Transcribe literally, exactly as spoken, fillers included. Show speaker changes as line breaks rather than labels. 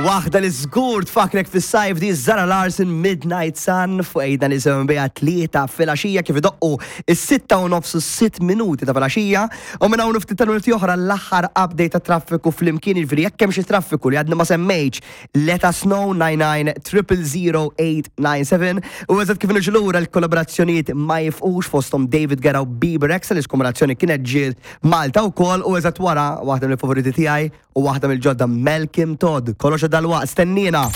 Waħda li żgur tfakrek fis-sajf di Zara Larsson Midnight Sun fuq ejda nisimgħu biha tlieta filgħaxija kif idoqqu is-sitta u nofs u sitt minuti ta' filgħaxija u minn hawn ftit tal-minuti oħra l-aħħar update ta' traffiku flimkien jiġifieri jekk hemm xi traffiku li għadna ma semmejtx let us know nine nine triple zero eight nine seven u eżatt kif niġu lura l-kollaborazzjonijiet ma jifqux fosthom David Guetta u Bebe Rexha li kollaborazzjoni kienet ġiet Malta wkoll u eżatt wara waħda mill-favoriti tiegħi u waħda mill-ġodda Malcolm Todd. Kollox dal-waqt, stennina.